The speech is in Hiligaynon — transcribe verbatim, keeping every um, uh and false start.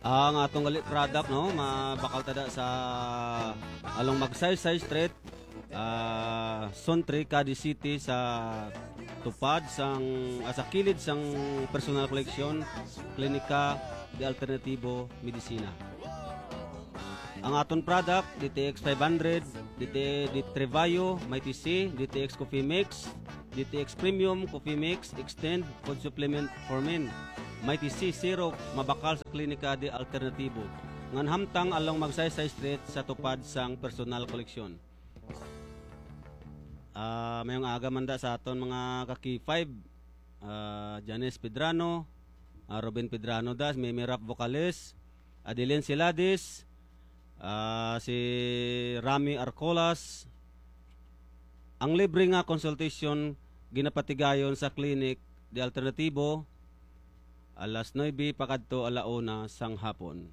Ang atong gali product, no, mabakal ta da sa along Magsaysay Street, ah, Zone three, Cadiz City, sa tupad sang, ah, sa kilid sang personal collection, Klinika de Alternativo Medicina. Ang aton product, D T X five hundred, D T, D Trevayo, Mighty C, D T X Coffee Mix, D T X Premium Coffee Mix, Extend Food Supplement for Men, Mighty C Syrup, mabakal sa Klinika de Alternativo, ngan hamtang along Magsaysay Street sa tupad sang personal collection. Ah, mayong aga man da sa aton mga ka-K five, ah, Janice Pedrano, ah, Ruben Pedrano das, Mimi Rap vocalist, Adeline Siladis, ah, si Rami Arcolas. Ang libre nga consultation ginapatigayon sa clinic de Alternativo alas nuebe pakadto ala una sang hapon.